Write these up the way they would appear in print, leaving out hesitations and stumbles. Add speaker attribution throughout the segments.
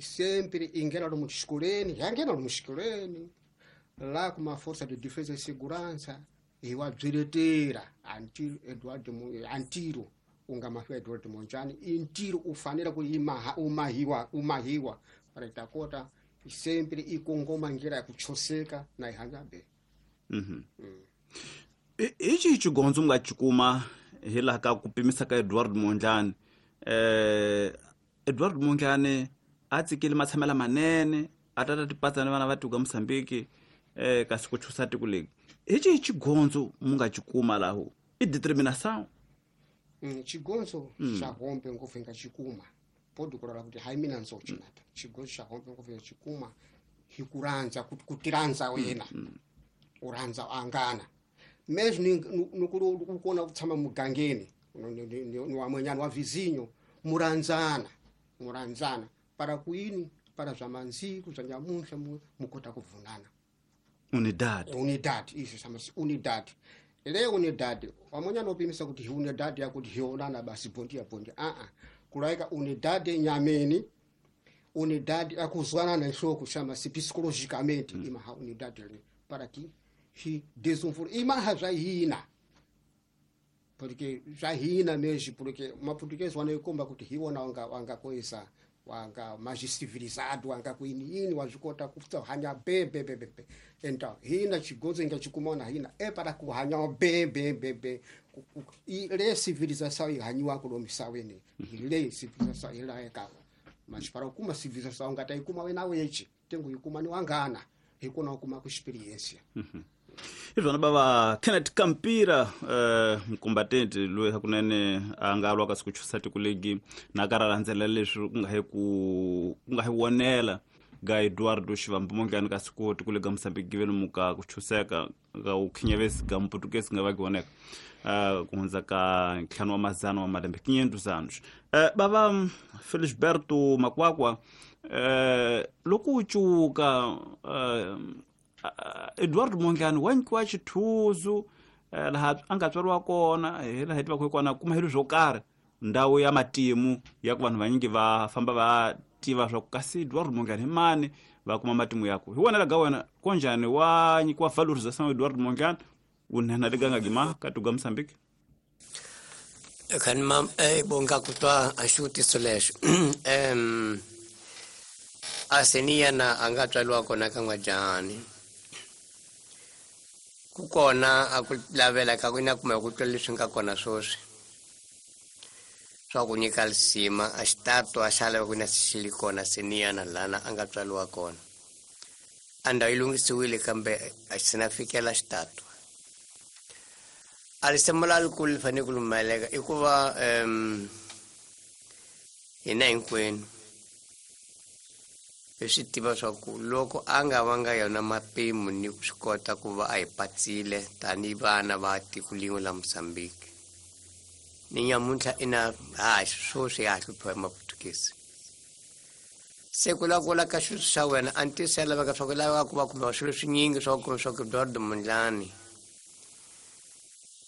Speaker 1: Sempre ingena lomu xikolweni, yangena lomu xikolweni lá com uma força de defesa e segurança iwabyiletela until Eduardo antiro ungamahiwa Eduardo Mondlane intiro ufanele kuimaha umahiwa umahiwa para itakota sempre ikongoma ngira ya kuchoseka na ihanyabe.
Speaker 2: Ichi chigonzo nga chikuma hila ka kupimisa ka Eduardo Mondlane. Eduardo Mondlane a tsikile matshamela manene a tata tipatsa ni vana va tiko Mozambique kasi ku chusa tiko leri. Ichi chigonzo munga chikuma laho i determination.
Speaker 1: Chigonzo xa hombe ngopfu nga chikuma podi kurala kuti hayi mina nzochinata chigonzo xa hombe ngopfu nga chikuma hi kurandza kutiranza wena uranza angana mesmo nukulu kukona kutshama mugangeni ni wamwenyana wa vizinho muranzana muranzana para kuini para zwa manziku zwa nyamunhla mukota kuvunana
Speaker 2: unidad
Speaker 1: unidad izvo samasi unidad le unidad wamwenyana upimisa kuti unidad yakuti hionana basi bondia bondia a kulaika unidad nyameni unidad akuzwanana nhloko shamasi psicologicamente imaha unidad le para que hi desenvolve imaha zwa hina porque zwa hina mesmo porque uma português wana ikomba kuti hiona wanga wanga coisa wanga mais civilizado wanga kuini wazvikota kufuta hanya be be be be então hina chigonzo inga chikumona hina é para kuhanya be be be be le civilização ihanyiwa kulomisaweni le civilização ilaeka mas para kuma civilização ngata ikuma wena wechi tengo ikuma ni wangana ikona kuma ku experiência.
Speaker 2: Izvona baba Kenneth Kampira mkombatente loyi hakunene a nga lwa kasi ku chusa tiko legi na ka ra landzela leswi ku nga hi ku nga hi wonela ga Eduardo Shivambu Mondlane kasi ku tiko legi Mozambique vele muka ku chuseka ga u khinyavesi ga Mputukesi nga va voneka ku hundza ka ntlhanu wa mazana wa malembe 500 anos. Baba Felisberto Makwakwa loko u cuka Eduardo Mondlane wa nyikiwa xithuzu laha a nga tswariwa kona hi laha hi tivaka kona kuma hilo swo karhi ndhawu ya matimu ya ku vanhu vanyingi va famba va tiva swa ku kasi Eduardo Mondlane hi mani va kuma matimu yaku hi wona laga wena konjani wa nyikiwa valorization Eduardo Mondlane unena liganga gima katuga Mozambique.
Speaker 3: Kan mam bonga kutwa a xivutiso lexo. Aseniyana a nga tswariwa kona ka N'wajani ku kona a ku lavela ka ku ina kumbe ku twa leswi nga kona sweswi swa ku nyika lisima a xitato a xa lava ku na xi li kona seniyana lana a nga tswariwa kona a ndhawu yi lunghisiwile kambe a xi na fikela xitato a risimu la likulu li fanele ku lumeleka i ku va hina hinkwenu hi swi tiva swa ku loko a nga vanga yona mapimo ni ku swi kota ku va a hi patsile tanihi vana va tiko lin'we la Mozambique ni nyamuntlha ina ha sweswi ya ha hluphiwa hi Maputukezi se ku lava ka swilo swa wena a ntiyiso ya laveka swa ku laveka ku va kumbe swilo swinyingi swa ku kumbe swa ku Eduardo Mondlane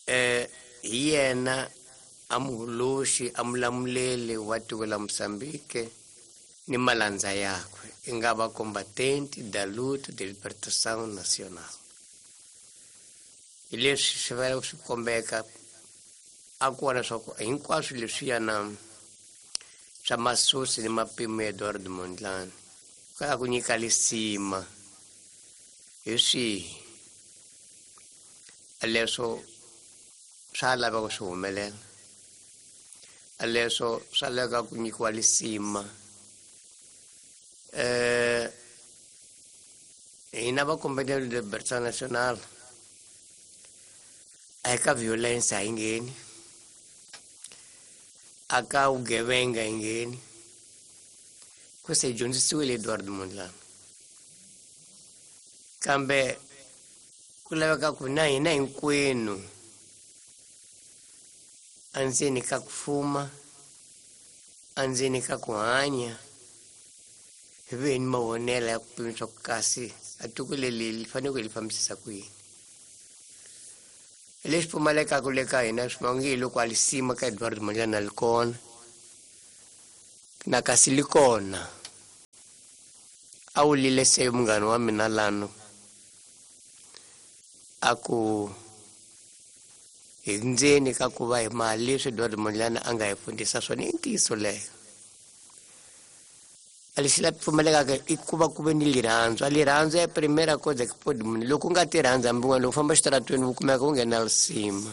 Speaker 3: hi yena a muholoxi a mulamuleli wa tiko la Mozambique ni malandza yakwe i nga va combatente da luta de libertação nacional. Hi leswi swi fanele swi kombeka a ku vona swa ku hinkwaswo leswiyana swa masusi ni mapimo ya Eduardo Mondlane ka ku nyika lisima hi swihi leswo swa laveka swi humelela leswo swa laveka ku nyikiwa lisima. Hina va combatente de libertação nacional a eka violence a yi ngheni a ka vugevenga yi ngheni ku se hi dyondzisiwile Eduardo Mondlane kambe ku laveka ku na hina hinkwenu andzeni ka ku fuma andzeni ka ku hanya hi ve ni mavonelo ya ku pimisa ku kasi a tiko leri li fanele ku hi li fambisisa ku yini. Lexi pfumalekaka le ka hina swi onge hi loko a lisima ka Eduardo Mondlane a li kona na kasi li kona A wu lile se munghana wa mina lano a ku hi ndzeni ka ku va hi mali leswi Eduardo Mondlane a nga hi fundisa swona i ntiyiso leyo. A lexi la pfumalekaka i ku va ku ve ni lirhandzu. A lirhandzu ya primera cosa que pode munhu loko u nga ti rhandzi hambi wena loko u famba xitaratweni u kumeka u nghena risima.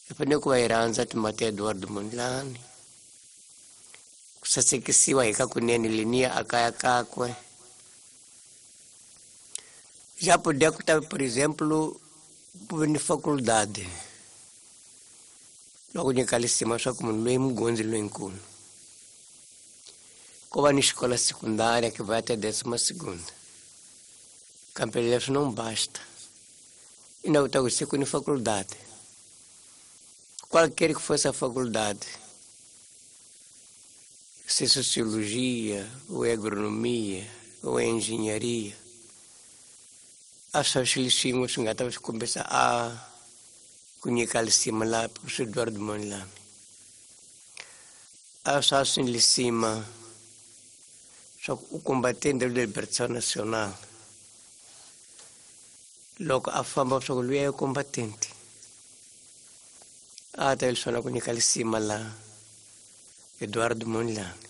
Speaker 3: Hi fanele ku va hi rhandza timhaka ta Eduardo Mondlane. Ku sasekisiwa hi ka kunene leniya a kaya kakwe. Já podia estar, por exemplo, ni faculdade. Loko nyika lisima swa ku munhu loyi mugondzi loyinkulu. Ko va ni xikola secundária que vai até 12ª. Kambe leswi não basta. E na outra coisa, ni faculdade. Qualquer que fosse a faculdade, se sociologia, ou é agronomia, ou é engenharia, a swa swilo swin'we swi nga ta swi kombisa a ku nyika lisima la professor Eduardo Mondlane. A swa swi lisima swa ku u combatente de libertação nacional. Loko a famba swa ku luya ya combatente. A ta leswi ku nyika lisima la Eduardo Mondlane.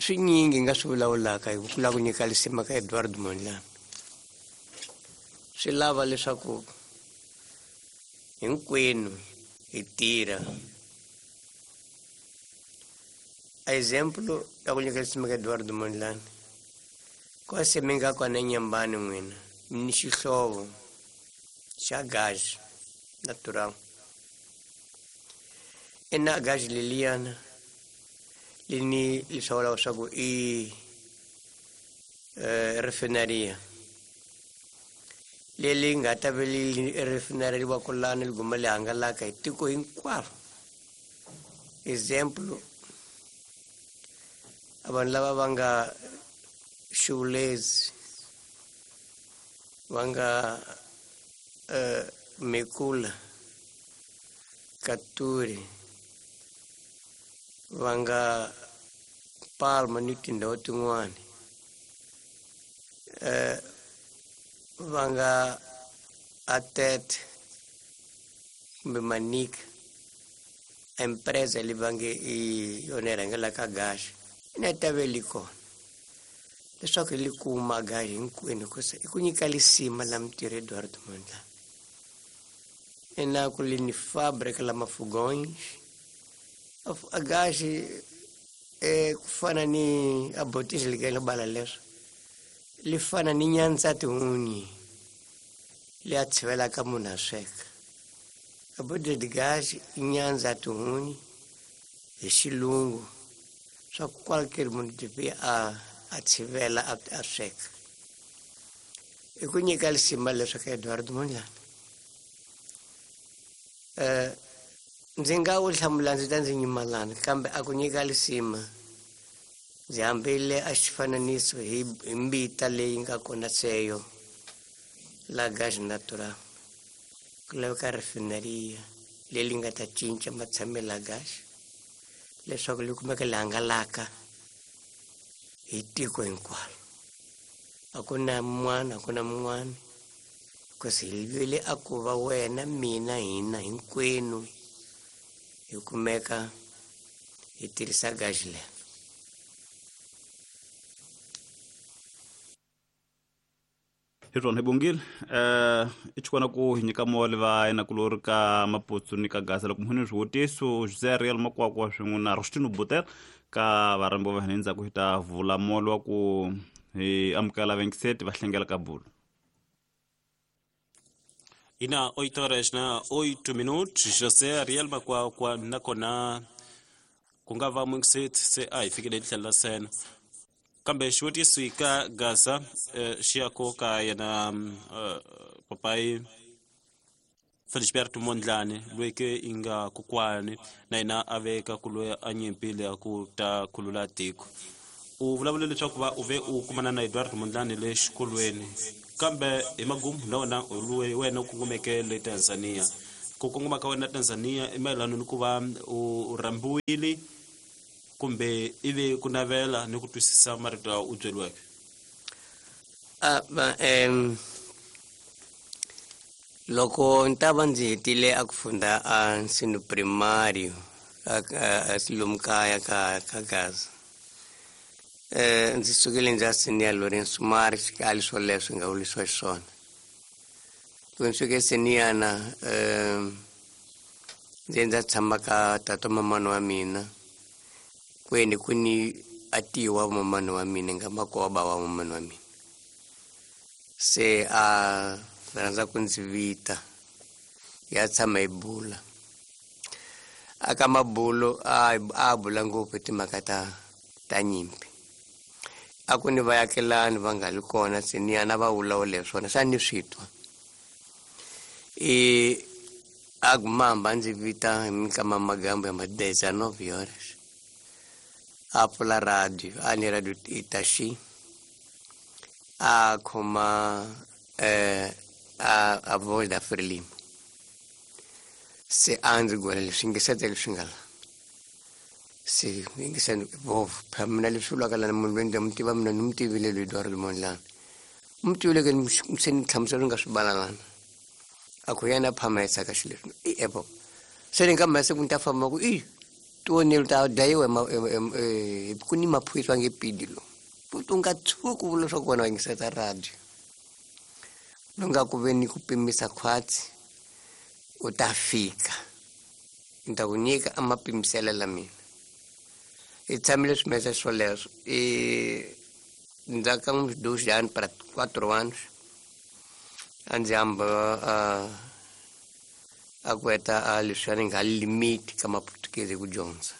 Speaker 3: Swinyingi nga swi vulavulaka hi ku lava ku nyika lisima ka Eduardo Mondlane. Swi lava leswaku hinkwenu hi tirha. A exemplo ya ku nyika lisima ka Eduardo Mondlane. Kwase mi nga kona eNyembani n'wina mi ni xihlovo xa gasi natural. Ina gasi leliyana lini leswi vulaka swa ku i refineria leri nga ta ve li refinery wa ku lani li guma li hangalaka hi tiko hinkwaro. Example, a vanhu lava va nga Xivulezi, va nga Mekula, Katuri, va nga Palma ni tindhawu tin'wani, va nga Atete kumbe Manika, empresa leyi va nge i yona yi rhangelaka gasi ina ta ve li kona leswaku li kuma gasi hinkwenu hikusa i ku nyika lisima la mintirho Eduardo Mondlane. Ina ku li ni fábrica la mafugões a gasi ku fana ni a botisi li bala leswo li fana ni nyandza tihunyi leyi a tshivelaka munhu a sweka. A botisi de gás i nyandza tihunyi hi xilungu swa ku qualquer munhu devia a tshivela a sweka. I ku nyika lisima leswi ka Eduardo Mondlane. Ndzi nga wu hlamula ndzi ta ndzi nyimalana kambe a ku nyika lisima ndzi hambile a xifananiso hi mbita leyi nga kona seyo la gasi natural. Ku laveka refineria leyi nga ta cinca matshamelo ya gasi leswaku li kumeka li hangalaka hi tiko hinkwaro. A ku na mun'wana, a ku na mun'wana, because hi vile a ku va wena, mina, hina hinkwenu hi kumeka hi tirhisa gasi leri.
Speaker 2: Hi rona hi bongile i chikona ku hi nyika mole va yena ku lori ka Maputsu ni ka Gaza loko muhuni swivutiso José Ariel Makwakwa swin'we na Rostino Butel ka varhambi va hina endzhaku hi ta vula molo wa ku hi amukela vengiseti va hlengela ka bulu.
Speaker 4: Ina 8 horas na 8 minutos José Ariel Makwakwa nakona ku nga va mungiseti se a hi fikile tlhelo la sena. Kambe xivutiso ka Gaza xi ya ko ka yena papai Felisberto Mondlane loyi ke i nga kokwani na yena a veka ku loyi a nyimpile a ku ta khulula tiko. U vulavule leswaku va u ve u kumana na Eduardo Mondlane le xikolweni kambe hi magumu na wena loyi wena u kongomeke le Tanzania. Ku kongoma ka wena Tanzania i mayelana ni ku va u rhambiwile Kumbe ivi ku navela ni ku twisisa marito lawa u byeriweke?
Speaker 3: Loko ni ta va ndzi hetile a ku funda a nsino primário a lomu kaya ka Gaza, ndzi sukile ndzi ya senior Lourenço Marques, ka ali swoleswo nga vulisiwa xiswona. Loko ndzi fike seniyana, ndzi ndza tshama ka tata mamani wa mina, kwene ku ni atiwa mamani wa mina nga makoba wa mamani wa mina. Se a rhandza ku ndzi vita ya tshama hi bula. Aka mabulo a bula ngopfu timhaka ta nyimpi. A ku ni vayakelani va nga li kona seniyana va vulavula hi swona, sa ni swi twa. A gumamba ndzi vita hi minkama magambo ya ma 19 horas. A pfula radio, a ni radio Itaxi. A khoma a voz da Frelimo. Se a ndzi gwela leswi yingisete leswi nga la. Se yingiseni vovo, phela mina leswi vulaka lana munhu loyi ndzi mu tiva mina ni mu tivile loyi Eduardo Mondlane. Mu tivile ke se ni hlamusela nga swi bala lana. A ku yena phama ya tsaka xilo leswi. I epo. Se ni nga masiku ni ta famba ku i tonelo ta dlayiwa ku ni maphorisa nge pidi lo. U nga tshuki u vula leswaku wena wa yingiseta radio. Lo nga ku ve ni ku pimisa khwatsi, u ta fika. Ni ta ku nyika a mapimiselo la mina. Hi tshamile swimesa swoleswo. Ndzhaku ka uns 2 anos para 4 anos, a ndzi hamba a ku heta a leswiya ni nga limite ka maputukezi ku dyondza.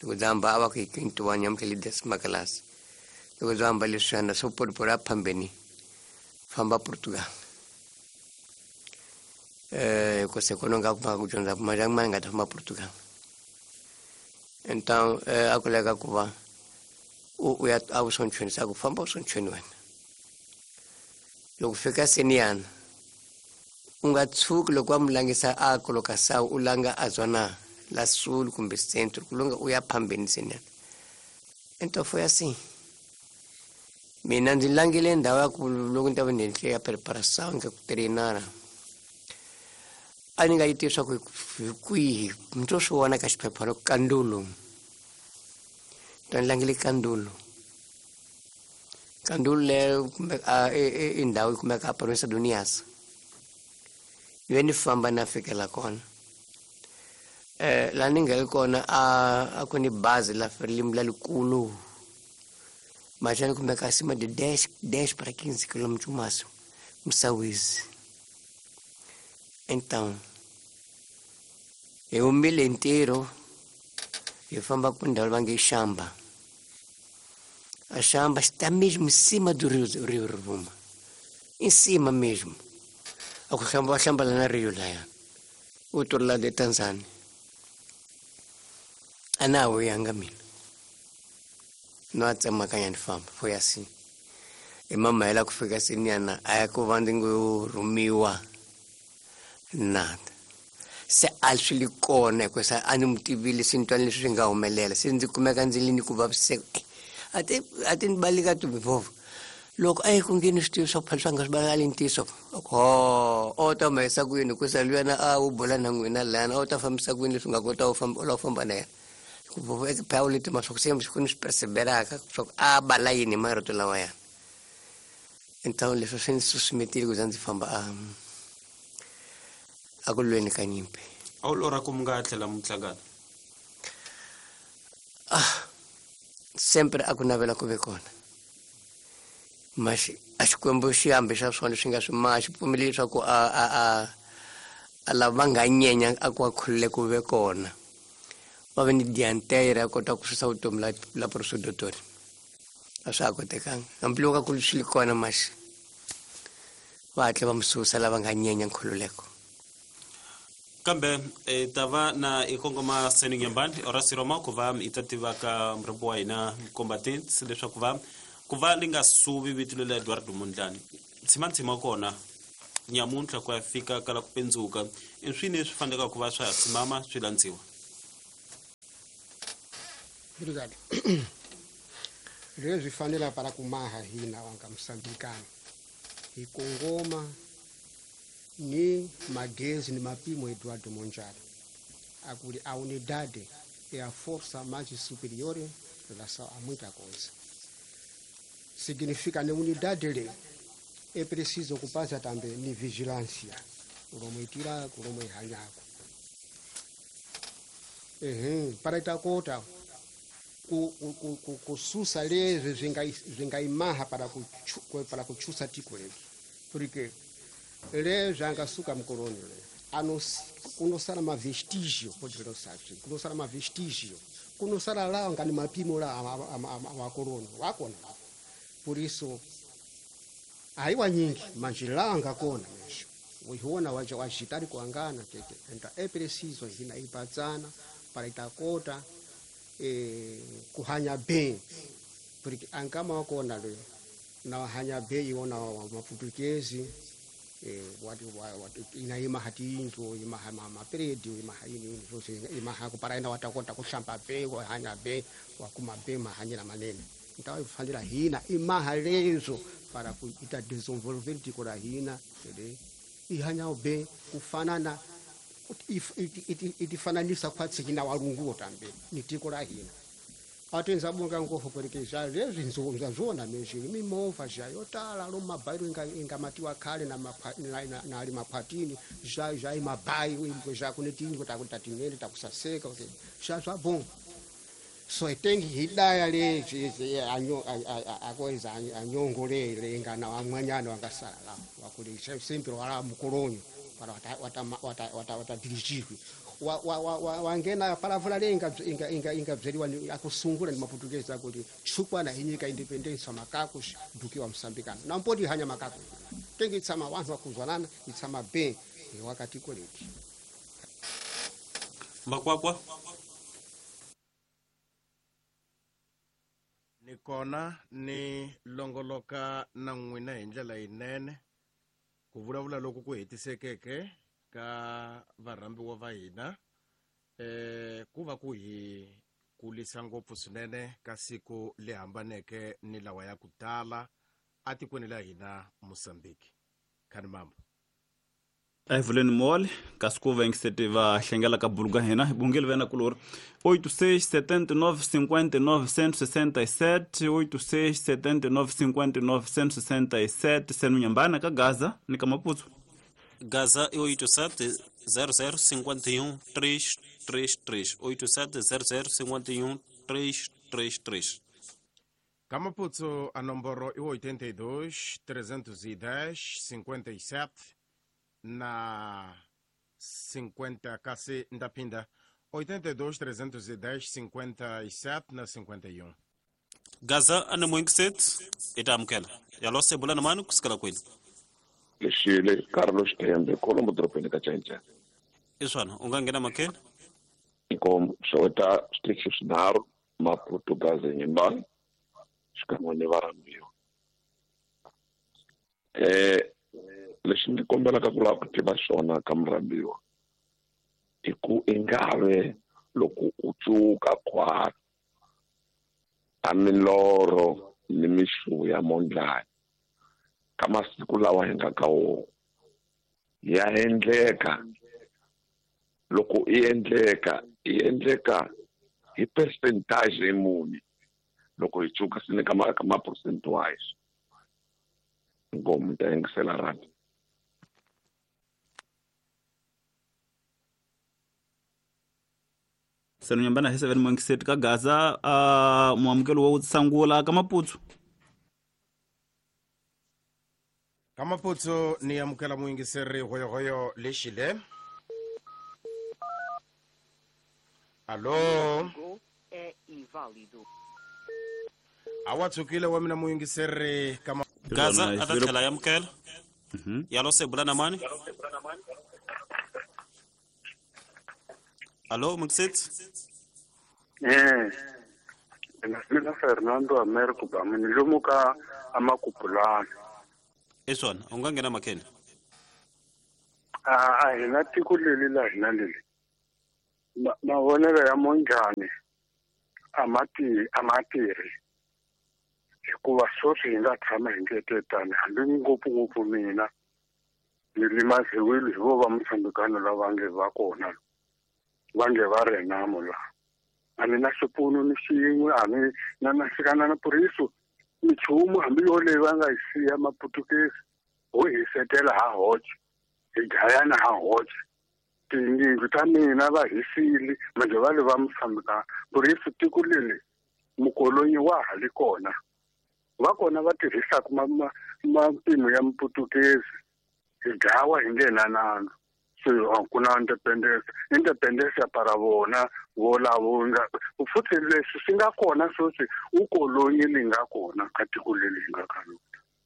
Speaker 3: Loko ndzi hamba a va ku hi quinto ano yamukele décima classe. Loko ndzi hamba leswiyana swo polipoli a phambeni famba Portugal. Ku se kona nga kuma ku dyondza mali ya nga ta famba Portugal. Então a ku leka ku va u ya a vusonchweni sa ku famba vusonchweni wena. Loko fika seniyana u nga tshuki loko va mu langisa a colocação u langa a zona la sul kumbe centro ku longa u ya phambeni seniyana. Então foi assim. Mina ndzi langile ndhawu ya ku loko ni ta va ni endle ya preparação nga ku treinara. A ni nga yi tivi swa ku hi kwihi ni to swi vona ka xiphephana ku Kandulu. To ni langile Kandulu. Kandulu leyo kumbe i ndhawu yi kumeka a province do Niassa. Ni ve ni famba na fikela kona. La ni nga yi kona a ku ni bazi la Frelimo la likulu. Machani kumeka acima de 10 para 15 quilômetros máximo. Msawizi. Então, hi humile ntirho hi famba ku ndhawu va nge Xamba. A Xamba está mesmo em cima do rio Rovuma. Em cima mesmo. A ku hlamba va hlamba la na rio laya. Outro lado de Tanzânia. A na wu yanga mina. No a tsemakanya ni famba, foi assim. I mamahela ku fika seniyana a ya ku va ndzi ngo rhumiwa nada. Se a swi li kona hikuva a ni mu tivile se ni twa leswi swi nga humelela se ndzi kumeka ndzi li ni ku vaviseka. A ti ni baleka ti vovo. Loko a yi ku nge ni swi tivi swa ku phela swa nga swi baleka li ntiyiso. Ho, o ta humesa ku yini hikuva luyana a wu bula na n'wina lana, o ta fambisa ku yini leswi nga kota u famba u lava ku famba na yena. Ku vovo eka phela leti ma swa ku se ku ni swi perceberaka swa ku a bala yini hi marito lawaya. Então leswi swi ni susumetile ku za ndzi famba a ku lweni ka nyimpi.
Speaker 4: A wu lorha ku mi nga tlhela mi hlangana?
Speaker 3: Sempre a ku navela ku ve kona. Mas a Xikwembu xi hambi xa swona swi nga swi ma xi pfumeli leswaku a lava va nga nyenya a ku va khulule ku ve kona. Va ve ni dianteira ya kota ku susa vutomi la professor Dottori. A swa ha kotekanga. Hambiloko a ku swi li kona mas va hatla va mu susa lava nga nyenya nkhululeko.
Speaker 4: Kambe ta va na i kongoma Seni Nyambani Horace Roma ku va i ta tiva ka murhumbi wa hina combatant leswaku va ku va li nga suvi vito lela Eduardo Mondlane. Tshima tshima kona nyamuntlha ku ya fika kala ku pendzuka i swini leswi faneleke ku va swa ha tshimama swi landziwa?
Speaker 1: Obrigado. Leswi fanela para kumaha hina wanga msambikana hi kongoma ni magezi ni mapimo Eduardo Monjara akuli a unidade é a força mais superior em relação a muita coisa. Significa na unidade le é preciso ocupar-se também ni vigilância, kulomo itira, kulomo ihanyako. Para itakota kususa lezwe zvingaimaha para kuchusa tiko letu. Porque lezwe angasuka mkoloni le kunosala mavestígio, pode ver kunosala mavestígio, kunosala lá ngani mapimo lá awakoloni wakona. Por isso aiwa nyingi manjila angakona mesho uiona waja wajitari kuangana tete. Então é preciso hina ipatsana para itakota kuhanya bem, porque angama wakona le na wahanya bem iona wa maputukezi ina imaha tindlu imaha mapredi imaha ini imaha kupara ina watakota kuhlamba be wahanya be wakuma be mahanyela manene. Então ifanira hina imaha lezo para kuita desenvolver tiko la hina ele ihanya be kufanana itifananisa kwatsi hina walunguo tambe ni tiko la hina. Atenza bunga ngofo porque já lezo zona mesmo mimova já yotala lo mabairo inga matiwa khale na na ali makwatini já já imabairo já kunetingo takutinene takusaseka já já bom. So tengi hidaya le anyo akoiza anyongole le ingana wamwanyana wangasala la wakuli sempre wala mukolonyo para wata dirigirwe wangena palavula le inga inga inga inga bzeliwa akusungula ni maputukezi akuti chukwana inyika independence makako dukiwa msambikana na mpoti hanya makako tengi tsama wantu wakuzwanana itsama be wakati koleki
Speaker 4: Makwakwa
Speaker 5: ni kona ni longoloka na n'wina hi ndlela yinene ku vulavula loku ku hetisekeke ka varhambiwa va hina ku va ku hi kulisa ngopfu swinene ka siku le hambaneke ni lawa ya ku tala atikweni la hina Mozambique. Khani mambo
Speaker 2: Evelyn Mole, kasi ku va va hlengela ka buluka hina bungeli vena kulori 86 79 59 167 86 79 59 167 senu nyambana ka Gaza ni ka Maputo.
Speaker 4: Gaza é 87 00 51 333 87 00 51 333.
Speaker 5: Ka Maputo a nomboro é 82 310 57 na 50 kasi ndapinda 82 310 57 na 51.
Speaker 4: Gaza ana moinkiset itamkela yalose bulana manu kusikala kwenu
Speaker 6: Lexile Carlos Tembe Colombo dropeni ka Chaincha.
Speaker 4: Iswana ungangena makeni
Speaker 6: Nkom xeweta switichi swinharhu Maputo Gaza Nyimbani xikan'we ni varhambiwa. Lexi ni kombelaka ku lava ku tiva xona ka murhambiwa i ku ingave loko u cuka khwati a milorho ni mixu ya mondlani ka masiku lawa hi nga ka wona ya endleka loko i endleka i endleka hi percentage muni loko hi cuka swi ni ka ma percent wise ngomu ta yingisela rand.
Speaker 2: Senu nyambana hi 7 moinkiset ka Gaza muamukelo wa sangula ka Maputo.
Speaker 5: Ka Maputo ni amukela muyingiseri hoyohoyo lexile. Allo. Awa tsukile wa mina muyingiseri ka
Speaker 4: Gaza atatlhela ya amukela. Yalose bulana mani. Allo Mxit.
Speaker 7: Mina Fernando Americo ba mina lomuka amakupulana.
Speaker 4: Iswana ungangena makeni.
Speaker 7: A hina tiko leli la hina leli. Mavonelo ya monjhani a ma tirhi hikuva sweswi hi nga tshama hi ngetetani hambi ngopfungopfu mina ni limaziwile hi vo va Mosambikano lava nge va kona va nge va Renamo laha a ni na xipfuno ni xin'we a ni na xikana na puriso minchumu hambi yoleyi va nga yi siya maputukezi ho hisetela ha hoxe hi dlayana ha hoxe tiyindlu ta mina va hisile manje va le va Mosambikano puriso tiko leli mukolonyi wa ha li kona va kona va tirhisaka mapimo ya muputukezi hi dlawa hi nge na nandzu se ku na independence para vona volavo nga futhi leswi swi nga kona sweswi ukolonyi li nga kona ka tiko leri hi nga ka lona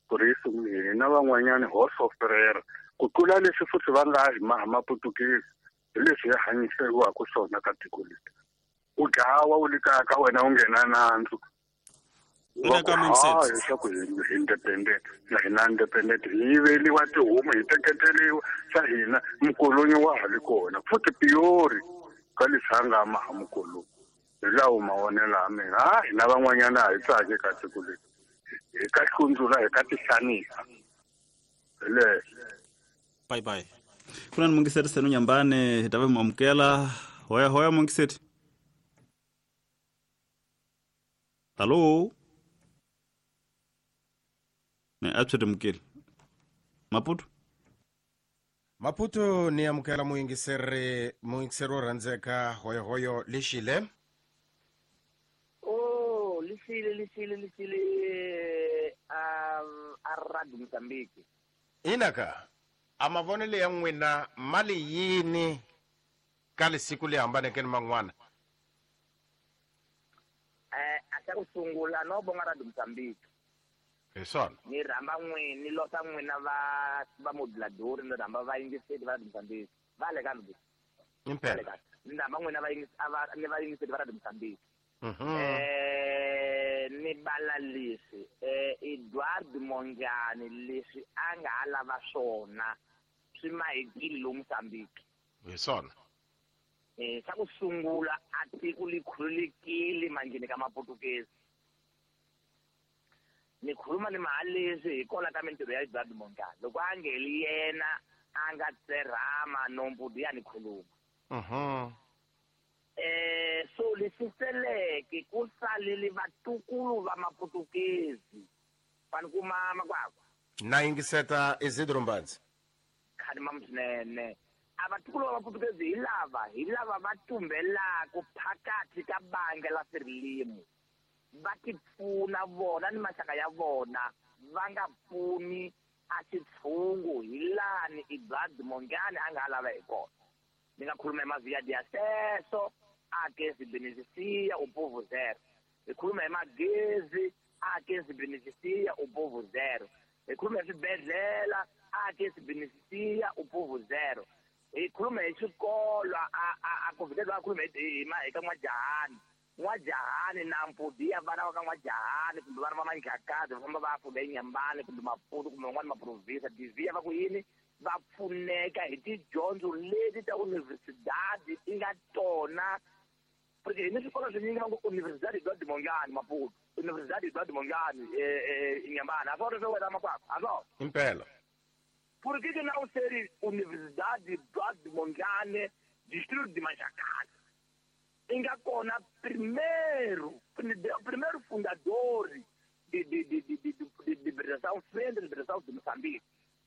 Speaker 7: puriso hina van'wanyani ho soferera ku tlula leswi futhi va nga hi maputukezi hi leswi hi hanyiseriwaka swona ka tiko leri u dlawa u le kaya ka wena u nghena nandzu leswaku hi independent na hina independent hi yiveliwa tihomu hi teketeriwa swa hina mukolonyi wa ha li kona futhi piyori ka leswi a nga maha mukolonyi hi lawo mavonelo ya mina a hina van'wanyana a hi tsaki ka tiko leri hi ka hlundzula hi ka tihlanisa hi leswo.
Speaker 4: Bye bye.
Speaker 2: Kuna ni mungiseti senu nyambane hi ta va hi mu amukela. Hoya hoya mungiseti. Hallo. Ne a tshwete mukeli. Maputo.
Speaker 5: Maputo ni amukela muyingiseri wo rhandzeka hoyo hoyo lexile.
Speaker 8: Oh, lexile a Radio Mozambique.
Speaker 5: Inaka a mavonelo ya n'wina mali yini ka lesiku leyi hambaneke ni man'wana?
Speaker 8: A xa ku sungula no bonga Radio Mozambique.
Speaker 5: Hi swona.
Speaker 8: Ni rhamba n'wina ni losa n'wina va moduladori ni rhamba vayingiseri va Radio Mozambique. Va le ka mi.
Speaker 5: Impela.
Speaker 8: Ni rhamba n'wina ni vayingiseri va Radio Mozambique. Ni bala leswi Edward Mondlane leswi a nga ha lava swona swi mahekile lomu Mozambique.
Speaker 5: Hi swona.
Speaker 8: Xa ku sungula a tiko li khululekile manjheni ka maputukezi. Ni khuluma ni mahaleswi hi kola ka mintirho ya Edward Mondlane. Loko a ngeli yena a nga tserhama nombudu ya ni khuluma. So leswi seleke ku salele vatukulu va maputukezi. Fani kuma makwakwa.
Speaker 5: Na yingiseta Isidro Mbadzi.
Speaker 8: Khani mamswinene. A vatukulu va maputukezi hi lava va tumbelaka phakathi ka banga la Frelimo. Va tipfuna vona ni maxaka ya vona va nga pfuni a xitshungu hi lani Edward Mondlane a nga ha lava hi kona. Ni nga khuluma hi mavia de acesso a que se beneficia o povo zero. Hi khuluma hi magezi a que se beneficia o povo zero. Hi khuluma hi swibedhlele a que se beneficia o povo zero. Hi khuluma hi swikolo a ku a khuluma hi ka N'wajahani. N'wajahani na mpudi ya vana va ka N'wajahani kumbe vana va Manjakazi va famba va ya funda eNyambani kumbe Maputo kumbe van'wani maprovinsa divhiya va ku yini va pfuneka hi tidyondzo leti ta universidade ti nga tona. Porque hi ni swikolo swinyingi va ngo Universidade Edward Mondlane Maputo, Universidade Edward Mondlane Nyambani. A swona swo wena makwakwa a swona.
Speaker 5: Impela.
Speaker 8: Por que que não ser Universidade Eduardo Mondlane Distrito de Manjakazi? Inga kona primeiro fundador de liberação, frente de liberação de Moçambique.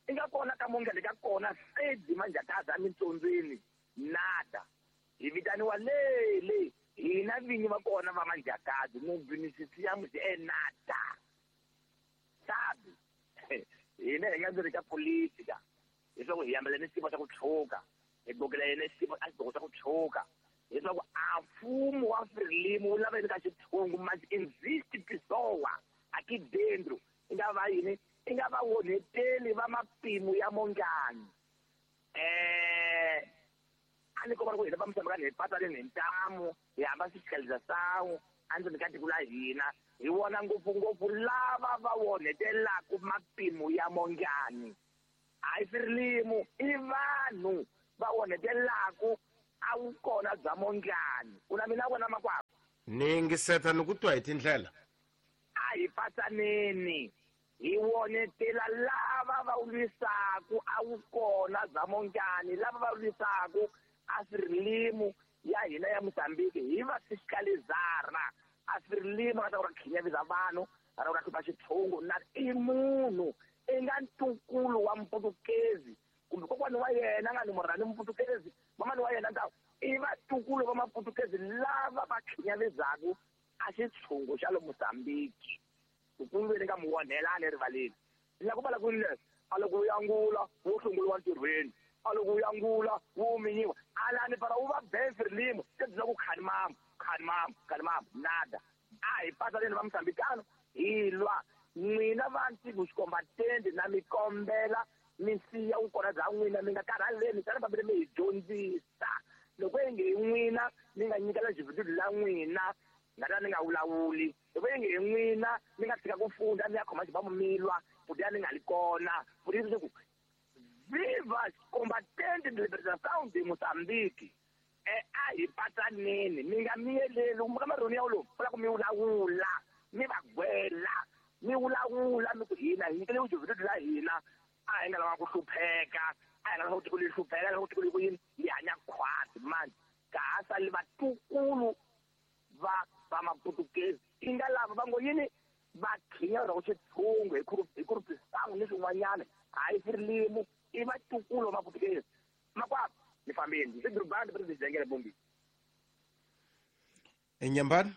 Speaker 8: Inga kona ka Mondlane ka kona sede Manjakazi a mintsondzweni nada. Hi vitaniwa lele hina vinyi va kona va Manjakazi no beneficiamos é nada. Sabe? Hina hi nga ndzi ri ka politika leswaku hi hambela ni xiyimo xa ku tshuka hi gokela yena xiyimo a xidoko xa ku tshuka leswaku a mfumo wa Frelimo wu lava yini ka xitshungu mas existe pessoa aqui dentro i nga va yini i nga va onheteli va mapimo ya Mondlane. A ni komba ku hina va Mozambique hi patsaleni hi ntamu hi hamba fiscalização endzeni ka tiko la hina hi vona ngopfungopfu lava va onhetelaka mapimo ya Mondlane. A hi Frelimo i vanhu va onhetelaka a vukona bya Mondlane. U na mina vona makwakwa.
Speaker 5: Ni yingiseta ni ku twa hi tindlela.
Speaker 8: A hi patsaneni hi wonetela lava va lwisaku a wu kona bya Mondlane, lava va lwisaku a Frelimo ya hina ya Mozambique hi va fiscalizara. A Frelimo nga ta ku ra khinyavisa vanhu, ra ku ra hlupha xitshungu na i munhu i nga ntukulu wa Mputukezi kumbe kokwani wa yena nga ni murhani Mputukezi, mamani wa yena ta i vatukulu va Maputukezi lava va khinyavizaka a xitshungu xa le Mozambique. Ku ni nga mu onhelani erivaleni. Ni la ku vala ku leswi a loko wu yangula wu hlongoliwa ntirhweni, a loko wu yangula wu minyiwa alani para wu va ben Frelimo se byi ku khani mamu khani mamu khani mamu nada. A hi patsaneni va Mozambikano hi lwa n'wina va Ntigo Xikombatende na mi kombela mi siya vukona bya n'wina, mi nga karhaleni tani fambile mi hi dyondzisa. Loko inge hi n'wina mi nga nyikela xivhidulu la n'wina nga ta ni nga vulavuli, loko inge hi n'wina mi nga tshika ku funda mi ya khoma xibamu mi lwa futi ya ni nga li kona futi leswaku viva Combatente de Libertação de Mozambique. A hi patsaneni mi nga miyeleli ka marhoni ya lowu ku la ku mi vulavula mi va gwela mi vulavula mi ku hina hi nyikele vuxivhidulu la hina, a hi nga lava ku hlupheka, a hi nga lava ku tiko leri hlupheka, a hi lava ku tiko leri ku yini hi hanya khwati mani ka ha sali vatukulu va va Maputukezi i nga lava va ngo yini va khinya ku xitshungu hi ku ni swin'wanyana hayi Frelimo i vatukulu va Maputukezi. Makwavo ni fambeni ndzi durubani president Jengele Bombi.
Speaker 5: Enyambani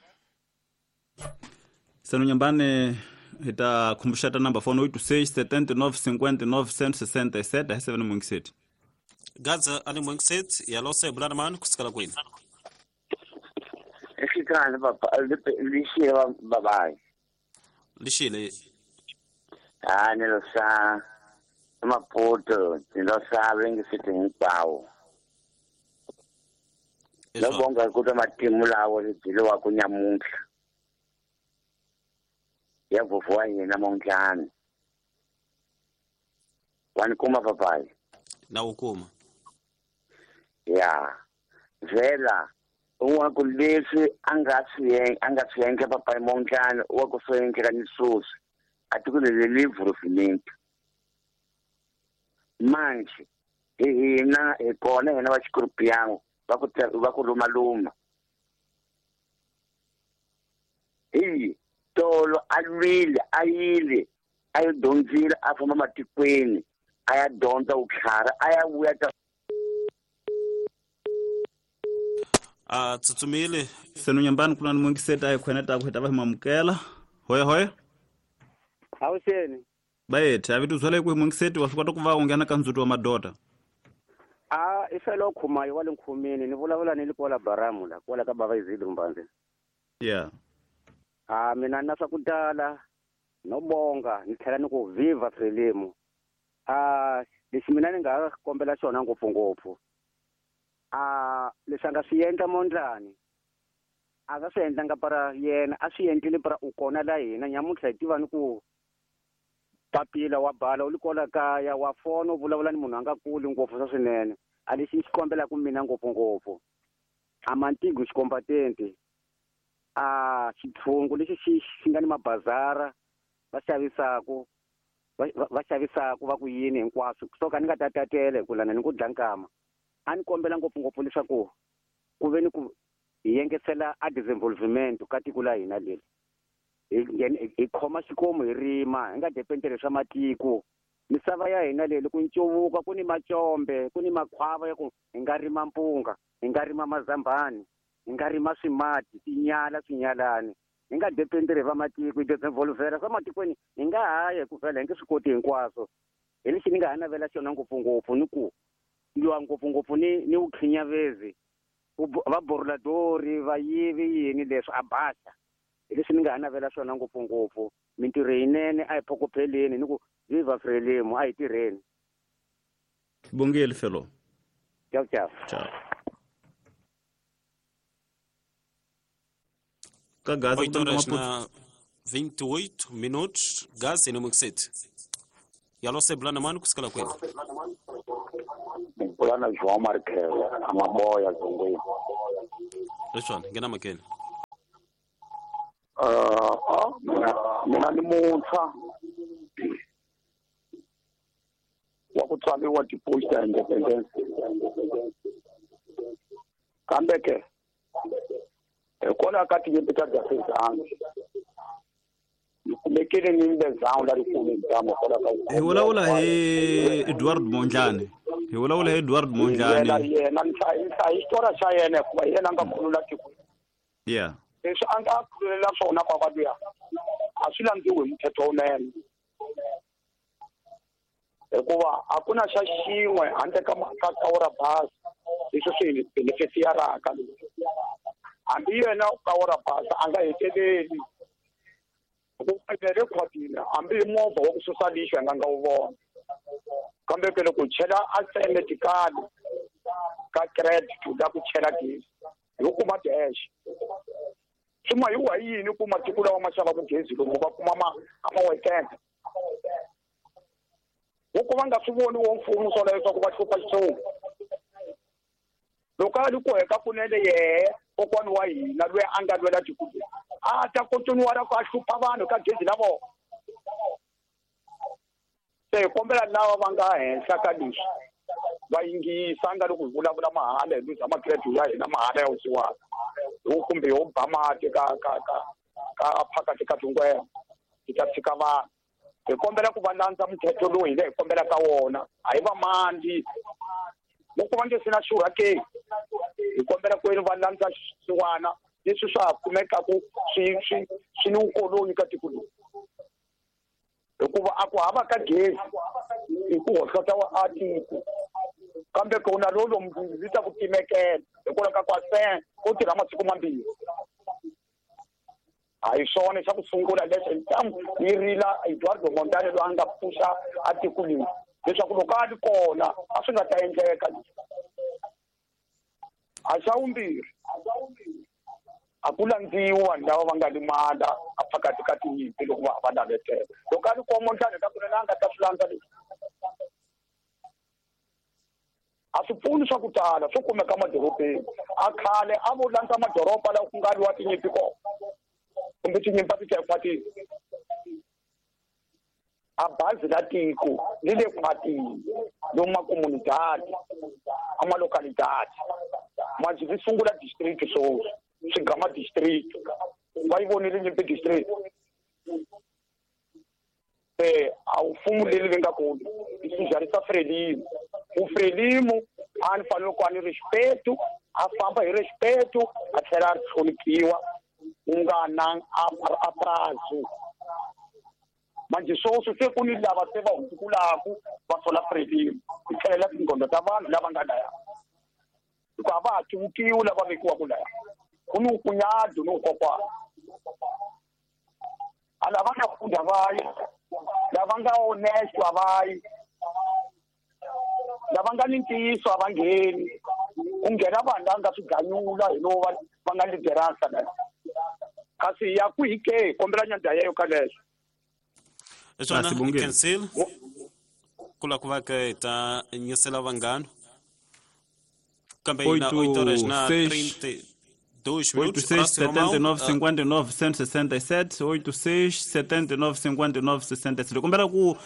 Speaker 2: Seno Nyambani hi ta khumbuxeta number phone 86 79 59 167 hi 7 mungiseti.
Speaker 4: Gaza ani mungiseti ya lose bulana mani kusukela kwini.
Speaker 9: Exikhale papa lixile babayi.
Speaker 4: Lixile.
Speaker 9: Ah ni lo sa Maputo ni lo sa vengiseti hinkwawo. Lo bonga ku twa matimu lawo byeliwa ku nyamuntlha. Ya vovho wa hina Mondlane. Wa ni kuma papayi?
Speaker 4: Na wu kuma.
Speaker 9: Ya. Vhela wa ku leswi a nga swi endla papayi Mondlane wa ku swi endleka ni sweswi a tiko leri li vhurufimenti. Manje hi hina hi kona hina va Xikorpiyango va ku lumaluma. Hi tolo a lwile a yile a yi dyondzile a famba matikweni a ya dyondza vutlhari a ya vuya ta
Speaker 4: a tsutsumile.
Speaker 2: Seno Nyambani ku na ni mungiseti a hi khweneta ku hi ta va hi mamukela. Hoya hoya.
Speaker 10: Awuxeni.
Speaker 2: Bayethe a vito byela ku hi mungiseti wa swi kota ku va u nghena ka ndzhuti wa madoda.
Speaker 10: A i felo khumayo wa le nkhumini ni vulavula ni le kwala Baramu la kwala ka bava Izidro Mbanzi.
Speaker 2: Yeah.
Speaker 10: A mina na swa ku tala no bonga ni tlhela ni ku viva Frelimo. A lexi mina ni nga kombela xona ngopfungopfu. A leswi a nga swi endla Mondlane a nga swi endlanga para yena a swi endlile para u kona la hina nyamuntlha hi tiva ni ku papila wa bala u li kwala kaya wa fona u vulavula ni munhu a nga kuli ngopfu swa swinene. A lexi ni xi kombelaka mina ngopfungopfu a Mantigo Xikombatente a xitshungu lexi xi nga ni mabazara va xavisaku va xavisaku va ku yini hinkwaswo so ka ni nga ta tatele hi ku lana ni ku dla nkama. A ni kombela ngopfungopfu leswaku ku ve ni ku hi yengesela a disinvolvement ka tiko la hina leri. Hi khoma xikomu hi rima hi nga dependeli swa matiko. Misava ya hina leyi loko ncuvuka ku ni macombe ku ni makhwava ya ku hi nga rima mpunga hi nga rima mazambani hi nga rima swimati tinyala swinyalani hi nga dependeli va matiko hi disinvolvera swa matikweni hi nga haya hi ku vhela hi nge swi koti hinkwaswo. Hi lexi ni nga ha navela xona ngopfungopfu ni ku lwa ngopfungopfu ni vukhinyavezi va boruladori va yivi yini leswi a basa. Hi leswi ni nga ha navela swona ngopfungopfu. Mintirho yinene a hi phokopheleni ni ku viva Frelimo a hi tirheni.
Speaker 2: Bongile felo.
Speaker 10: Ciao ciao.
Speaker 2: Ciao. Ka Gaza
Speaker 4: 8 horas na 28 minutos. Gaza ni mungiseti. Yalo se bulana mani kusukela kwini.
Speaker 9: Bulana João Marques, amaboya zongweni.
Speaker 4: Leswani ngena makeni.
Speaker 11: Mina ni muntshwa wa ku tswariwa depois ta independence. Kambe ke hikwalaho ka tinyimpi ta Dzafezangi ni kumekile ni mbezangu lerikulu ntamu hikwalaho ka
Speaker 2: hi vulavula hi Edward Mondlane. Hi vulavula hi Edward Mondlane.
Speaker 11: Yena ni hlaya xitori xa yena hikuva hi yena a nga khulula tiko.
Speaker 2: Yeah.
Speaker 11: Leswi a nga khululela swona kwakwa luya a swi landziwi hi muthetho wunene. Hikuva a ku na xa xin'we handle ka ka basi leswi swi benefisiyaraka. Hambi yena ka basi a nga heteleli. Hikuva rekhwadini hambi hi movha wa ku susa lixo hi nga nga wu vona. Kambe ke loko chela a semetikali ka credit la ku chela gezi hi kuma dash. Swi hi wa yini ku matiko lawa ma xavaka gezi lomu va kuma ma weekend. Loko va nga swi voni wo mfumo swona leswaku va hlupha xitshungu. Loko a ri ku heka kunene yehe kokwani wa hina loyi a nga lwela tiko a ta continue ra ku a hlupha vanhu ka gezi la vona. Se hi kombela lava va nga henhla ka leswi va yingisa nga loko hi vulavula mahala hi luza ma-credit ya hina mahala ya wusiwana kumbe yo ba mati ka ka ka ka phakathi ka tingwenya hi ta tshika vanhu. Hi kombela ku va landza muthetho lowu hina hi kombela ka wona a hi va mandi loko va nge se na xurha ke hi kombela ku va landza xisiwana leswi swa ha kumekaku swi swi swi ni vukoloni ka tiko leri. Hikuva a ku hava ka gezi hi ku hohlota wa a tiko kambe ku na lowu lomu ri ta ku timekela hikwalaho ka ku a ku tirha masiku mambirhi. A hi swona xa ku sungula leswi ntamu yi rila Eduardo Mondlane loyi a nga pfuxa a tiko leri leswaku loko a ri kona a swi nga ta endleka. A xa vumbirhi a ku landziwi vanhu lava va nga limala a phakathi ka tinyimpi loko va navetela. Loko a ri kona Mondlane ka kunene a nga ta swi landza leswi. A swi pfuni swa ku tala swo kumeka madorobeni. A khale a vo landza madoroba lawa ku nga lwiwa tinyimpi kona kumbe tinyimpi a ti ta ekhwatini. A bazi la tiko li le khwatini lomu makomunidadi a malocalidade manjhe vi sungula district sweswi swigama district va yi vonile nyimpi district. Se a wu mfumo leri vi nga kona i swijarisa Frelimo. Ku Frelimo a ni fanele ku a ni respeto a famba hi respeto a tlhela a hloniphiwa ku nga na a prazo. Manjhe sweswi se ku ni lava se va hundzukulaku va sola Frelimo hi tlhelela tingqondo ta vanhu lava nga laya. Hikuva a va ha civukiwi lava vekiwaka laya. Ku ni ukunyado ni ukokwana. A lava nga funda va yi, lava nga honest a va yi, lava nga ni ntiyiso a va ngheni. Ku nghena vanhu lava nga swi ganyula hi lowu va nga lideransa laya. Kasi ya kwihi ke kombela nyandza yeyo ka leswo.
Speaker 4: Swona cancel ku la ku va ke ta nyisela vanghana kambe ina 8 horas na 32 minutos.
Speaker 2: 86 79 59 167 86 79 59 67. Kombela ku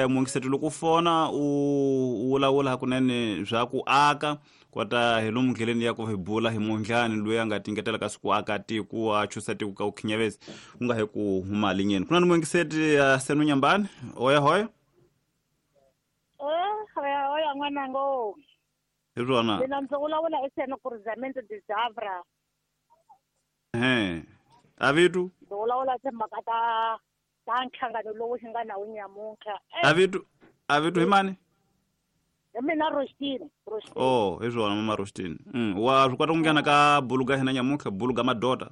Speaker 2: mungiseto loko fona u vulavula hakunene bya ku aka kota hi lomu ndleleni ya ku hi bula hi Mondlane loyi a nga tingetela ka siku aka tiko a chusa tiko ka ukhinyavezi ku nga hi ku huma linyeni. Ku na ni mungiseti ya Senu Nyambani. Oya hoya.
Speaker 12: Hoya hoya n'wanango.
Speaker 2: Hi rona.
Speaker 12: Mina ndzi vulavula hi Senu Cruzamento de Zavra.
Speaker 2: Avitu.
Speaker 12: Ndzi vulavula timhaka ta nhlangano lowu hi nga na wu nyamuntlha.
Speaker 2: Avitu hi mani?
Speaker 12: Hi mina Rostini.
Speaker 2: Oh, hi swona mama Rostini. Wa swi kota ku nghena ka buluga hina nyamuntlha buluga madota.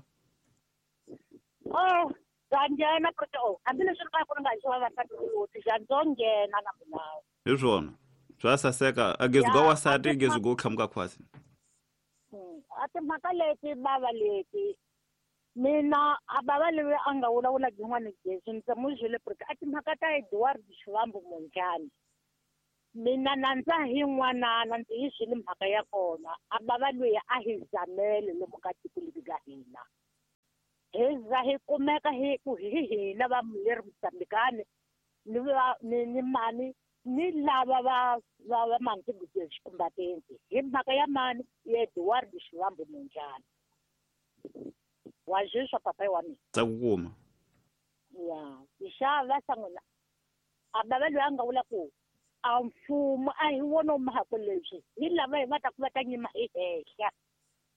Speaker 12: Oh, bya nghena proto. Hambileswi ri ka ku ri nga xiwa vavasati ku bya ndzo nghena na mina.
Speaker 2: Hi swona. Swa saseka a gezi ga wasati gezi go qhamuka khwasi.
Speaker 12: A timhaka leti bava leti mina a bava leyi a nga vulavula byin'wana gezi ndzi mu byele proto a timhaka ta Edward Shivambu Mondlane. Mina nandza hi n'wanana ndzi yi swile mhaka ya kona a bava loyi a hi zamele lomu ka tiko leri ka hina. Hi za hi kumeka hi ku hi hina va leri Mozambikani ni ni mani ni lava va mani xikumbatenti hi mhaka ya mani ya Eduardo Shivambu Mondlane. Wa zwiswa papai wa mina.
Speaker 2: Tsa ku kuma.
Speaker 12: Ya, xava sangona. A bava loyi a nga vula ku a mfumo a hi wona mhaka leswi ni lava hi va ta ku va ta nyima hi henhla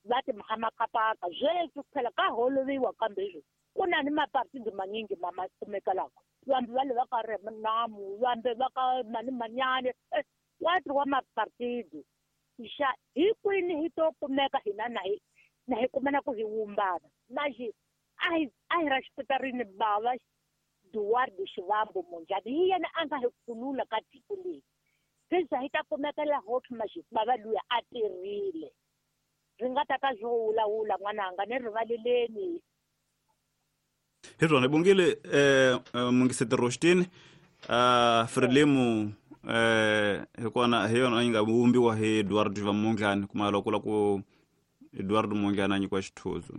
Speaker 12: va ti mhamakapaka sweswi phela ka holoviwa kambe leswi ku na ni mapartidi manyingi ma kumeka lako vambe va le va ka Renamu vambe va ka mani manyane wa wa mapartidi xa hi kwini hi to kumeka hina na hi kumana ku hi wumbana manje a hi ra xipitarini bava Eduardo Shivambu Mondlane hi yena a nga hi khulula ka tiko leri se hi ta kumeka la hot manje bava luya a tirhile ri nga ta ka swo wulawula n'wananga ni rivaleleni.
Speaker 2: Hi swona hi bongile mungiseti Roshtini Frelimo hikona hi yona yi nga vumbiwa hi Eduardo Mondlane kuma loko la ku Eduardo Mondlane a nyikiwa xithuzo.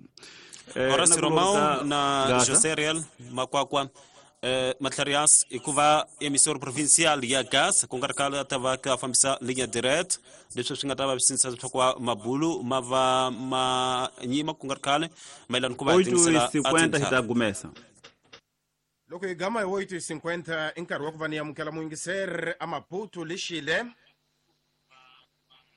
Speaker 4: Horace Romão na José Real Makwakwa Matlarias hikuva emissor provincial ya gas ku nga ri khale a ta va ka fambisa linha direct leswi swi nga ta va swi sindzisa leswaku mabulu ma va ma nyima ku nga ri khale mayelana ku va hi tingisela
Speaker 2: 8:50 hi ta gumesa.
Speaker 5: Loko hi gama hi 8:50 i nkarhi wa ku va ni amukela muyingiseri a Maputo lexile.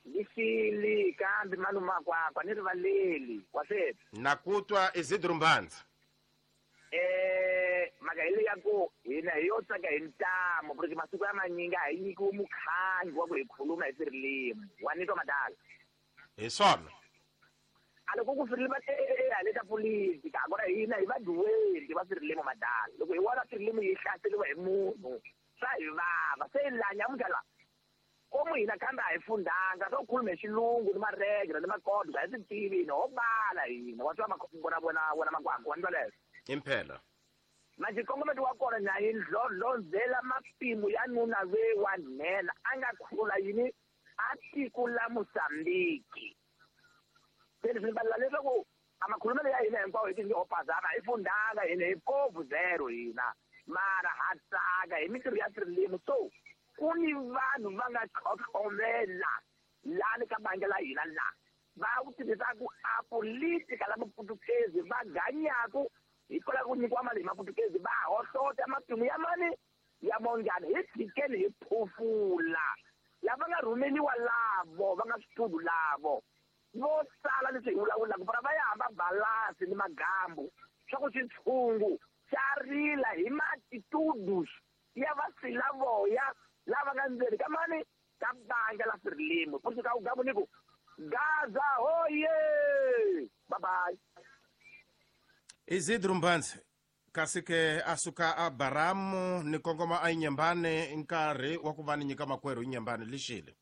Speaker 8: Lexile kambe malume Makwakwa ni rivaleli wa sweswi.
Speaker 5: Na ku twa Isidro Mbanza.
Speaker 8: Mhaka hi leyi ya ku hina hi yo tsaka hi ntamu porque masiku ya manyingi a hi nyikiwi mukhangi wa ku hi khuluma hi Frelimo wa ni twa madala.
Speaker 5: Hi swona.
Speaker 8: A loko ku Frelimo hale ta politika kona hina hi vaduweli va Frelimo madala loko hi vona Frelimo yi hlaseriwa hi munhu swa hi vava se la nyamuntlha la komu hina kambe a hi fundanga swo khuluma hi xilungu ni maregre ni makodwa a hi swi tivi hina ho bala hina wa twa vona Makwakwa wa ni twa leswo.
Speaker 5: Impela.
Speaker 8: Manje nkongometo wa kona na yi ndlondlozela mapimo ya nuna we wa nhenha a nga khulula yini a tiko la Mozambiki. Se leswi ni valela leswaku a makhulumelo ya hina hinkwawo hi tinhopazana hi fundanga hina hi povu zero hina mara ha tsaka hi mintirho ya Frelimo so ku ni vanhu va nga tlhotlhomela lani ka bangi la hina la va ku tirhisaku a politika la maputukezi va ganyaku hikwalaho ku nyikiwa mali hi maputukezi va hohlota matimu ya mani ya Mondlane hi tshikeni hi phofula lava nga rhumeliwa lavo va nga switudu lavo vo sala leswi hi vulavulaka para va ya hamba balasi ni magambu swa ku xitshungu xa rila hi matitudus ya vasilavoya lava nga ndzeni ka mani ka bangi la Frelimo ku ka gamu ni ku Gaza hoye bye bye.
Speaker 5: Isidro Mbanza kasi ke a suka a Baramu ni kongoma a Inyembane nkarhi wa ku va ni nyika makwerhu Inyembane lexile.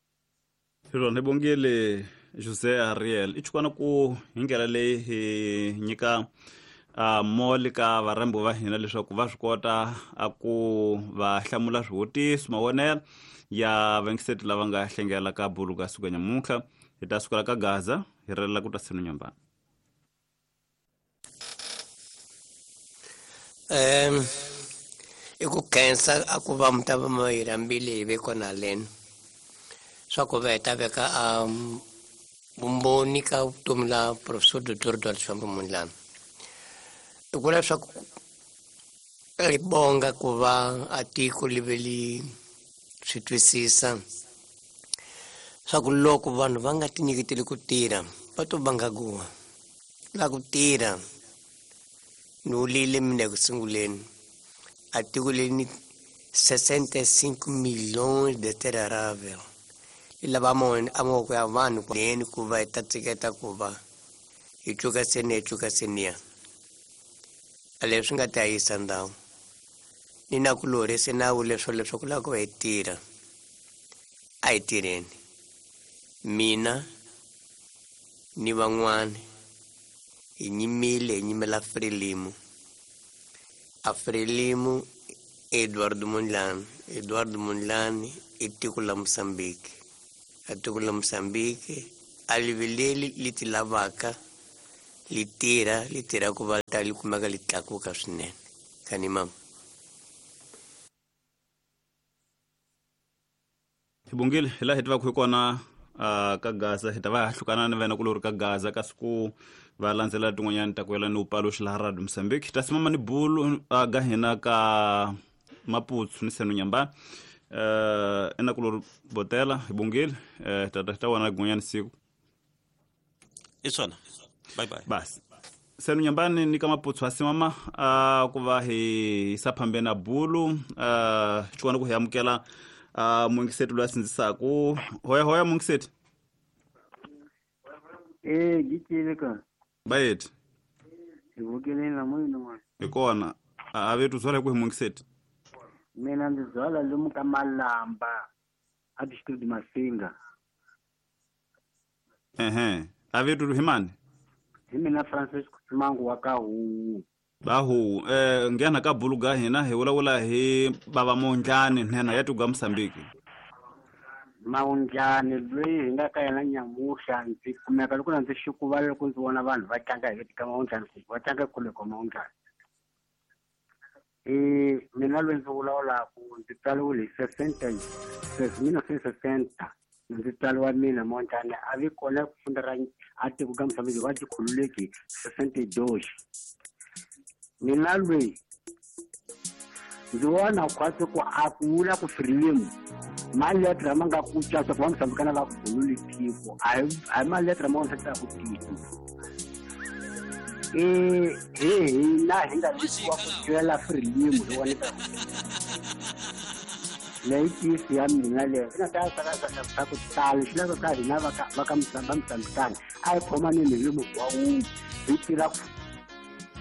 Speaker 2: Swona hi bongile José Ariel i chukwana ku hi ndlela leyi hi nyika moli ka varhambi va hina leswaku va swi kota a ku va hlamula swivutiso mavonelo ya vangiseti lava nga hlengela ka bulu ka siku ya nyamuntlha hi ta sukela ka Gaza hi relela ku ta senu Nyambana.
Speaker 3: I ku khensa a ku va mi ta va mi hi rhambile hi ve kona leni swa ku va hi ta veka a vumbhoni ka vutomi la Professor Dr. Eduardo Shivambu Mondlane. I ku leswaku ri bonga ku va a tiko li ve li swi twisisa swa ku loko vanhu va nga tinyiketeli ku tirha va to vanga guwa la ku tirha. Ni wulile mina eku sunguleni a tiko leri ni 65 milhões de terra arável li lava a mavoko ya vanhu neni ku va hi ta tsiketa ku va hi cuka seniya hi cuka seniya a leswi nga ta yisa ndhawu ni na ku lorhi se na vule swo leswaku lava ku va hi tirha a hi tirheni mina ni van'wani hi nyimile hi nyimela Frelimo a Frelimo Eduardo Mondlane Eduardo Mondlane i tiko la Mozambique a tiko la Mozambique a liveleli li ti lavaka Li tirha ku va ta li kumeka li tlakuka swinene. Kani mama.
Speaker 2: Hi bongile hi laha hi tivaka hi kona ka Gaza hi ta va hlukana ni vena kulori ka Gaza kasi ku va landzela tin'wanyani ta ku yela ni upaluxi laha Radio Mozambique ta simama ni bulu ga hina ka Maputsu ni Seno Nyambani ena kulori botela hi bongile ta wona gun'wanyani siku
Speaker 4: i swona bye bye
Speaker 2: basi Seno Nyambani ni ka Maputsu asimama ku va hi yisa phambeni na bulu xikona ku hi amukela mungiseti loyi a sindzisaku hoya hoya mungiseti.
Speaker 13: Gicile ka
Speaker 2: bayeti
Speaker 13: hi vukeleni la moyeni n'wana
Speaker 2: hi kona a vetu byala hi ku hi mungiseti.
Speaker 13: Mina ndzi byala lomu ka Malamba a district Masinga.
Speaker 2: Ehe a vetu hi mani?
Speaker 13: Hi mina Francis Kumangu wa ka Huwu.
Speaker 2: Bahu nghena ka bulu ga hina hi vulavula hi bava Mondlani nhenha ya tiko Mozambique.
Speaker 13: Mondlani loyi hi nga ka yena nyamuhla ndzi kumeka loko ndzi xikuva loko ndzi vona vanhu va tlanga hi ka Mondlani va tlanga kule ka Mondlani. Mina loyi ndzi vulavulaka ndzi tswariwile hi 1960 ndzi tswariwa mina Mondlani a vi kona ku funda ra a tiko ka Mozambique va tikhululeki 62. Mina loyi ndzi vona khwatsi ku a ku vula ku Frelimo maletere ma nga ku caca ku va Mozambikana va khululi tiko a hi maletere ma vonisa ku tiko. Hi hina hi nga vikiwa ku twela Frelimo hi vona leyi tisi ya mina leyi swi nga ta swa ku tala swi lava ka hina va ka Mozambikana a hi khomaneni hi munhu wa wun'we hi tirha.